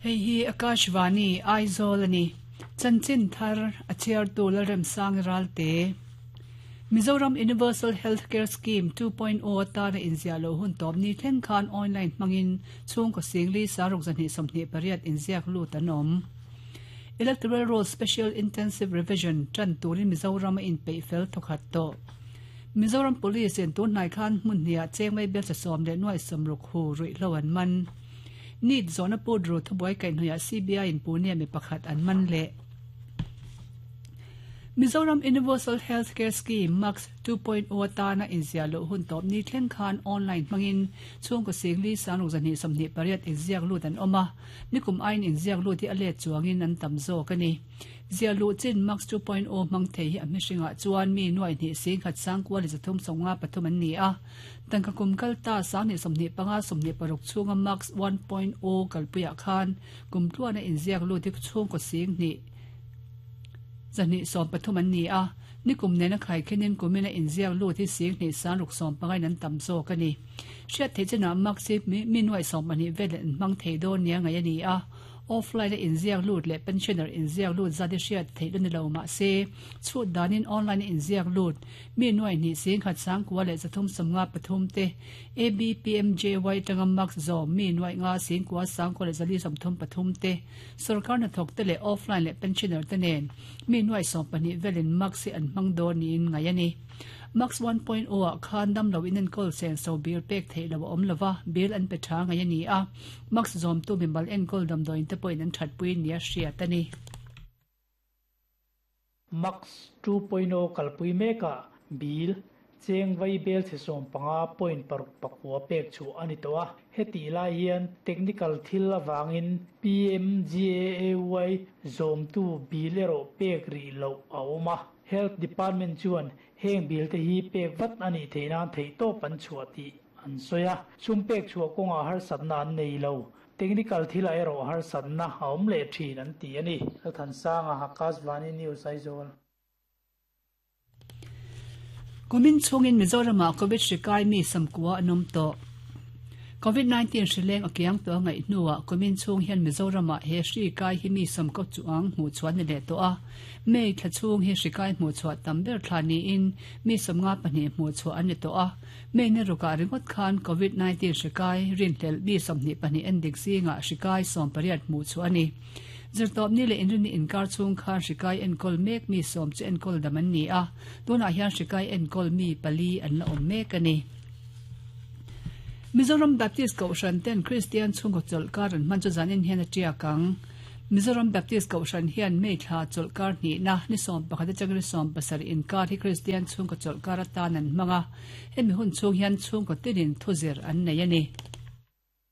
Hei hi Akashvani, Aizawl a ni. Chanchin thar a chhiartu Lalremsangi Ralte. Mizoram Universal Health Care Scheme 2.0 atana inziah loh hun tawp ni thleng khan online hmangin chhungkaw singli saruk 228 inziak lut an awm. Electoral Roll Special Intensive Revision tan turin Mizoram a inpeih fel thawkhat tawh. Mizoram Police in tunhnai khan hmun hniah chengmei belcha sawm leh nuai sawmruk hu ruihhlo an man. Neet zawhna put ru thubuai kaihhnawihah CBI in Pune mi pakhat an man leh. Mizoram Universal Health Care Scheme, MACS, 2.0 atana inziah loh hun tawp ni thleng khan online hmangin chhungkaw singli sangruk 228 inziak lut an awm a, nikum aiin inziak lut hi a let chuangin an tam zawk a ni. Ziah luh chin MACS 2.0 hmang thei hi a hmihringah chuan mi nuai hnih singkhat sangkua leh 353 an ni a. Tangka kum kal ta 2025 26 chhunga MACS 1.0 kalpuiah khan kum tluana inziak lut hi chhungkaw sing hnih 213 an ni a, nikum nena khaikhenin kumina inziak lut hi sing hnih sangruk sawmpangain an tam zawk a ni. Hriat theih chinah MACS hi mi nuai sawmpahnih velin an hmang thei dawn nia ngaih a ni a. Offline a inziak lut leh pensioner inziak lut zat hi hriat theih la ni lo mah se, chhut danin online a inziak lut mi nuai hnih singkhat sangkua leh 353 te, ABPMJY atanga marks zawm mi nuaih nga singkua sangkua leh 433 te, sorkar hnathawk te leh offline leh pensioner te nen mi nuai 12 velin marks hi an hmang dawn niin ngaih a ni. Marks 1.0 ah khan damlo inenkawl senso bill pek theih loh a awm lova, bill an pe tha ngaih a ni a. Max zawmtu mimal enkawl damdawiin te pawhin an thatpui nia hriat a ni. Max 2.0 kalpui mekah bill cheng vai bel chhe 15.6 pakua pek chhuah a ni tawh a. Hetih lai hian technical thil avangin PMGAAY zawmtu bill erawh pek rih loh a awm a. Health Department chuan heng bill te hi pek vat a nih theih nan theihtawp an chhuah tih an sawi a. Sum pek chhuah kawngah harsatna an nei lo. Technical thilah erawh harsatna a awm leh thin an ti a ni. Lalthansanga, Akashvani News, Aizawl. Kumin chhungin Mizoramah Covid hri kai mi samkua an awm tawh. Covid-19 hri leng a kiang tawh a ngaih hnuah kumin chhung hian Mizoramah he hri kai hi mi samkaw chuang hmuh chhuah ni leh tawh a. May thla chhung hi hri kai hmuh chhuah tam ber thla niin mi 52 hmuh chhuah an ni tawh a. May ni rukah ringawt khan Covid-19 hri kai rinhlelh mi 22 endik zingah hri kai 18 hmuh chhuah a ni. Zirtawpni leh inrinni inkar chhung khan hri kai enkawl mek mi sawm chu enkawl dam an ni a, tunah hian hri kai enkawl mi pali an la awm mek a ni. Mizoram Baptist Kohhran ten Kristian chhungkaw chawlhkar an hman chu zanin hian a tiak ang. Mizoram Baptist Kohhran hian May thla chawlhkar hnihna ni 11 atanga ni 17 inkar hi Kristian chhungkaw chawlhkar atan an hmang a, hemi hun chhung hian chhungkaw tinin thuzir an nei a ni.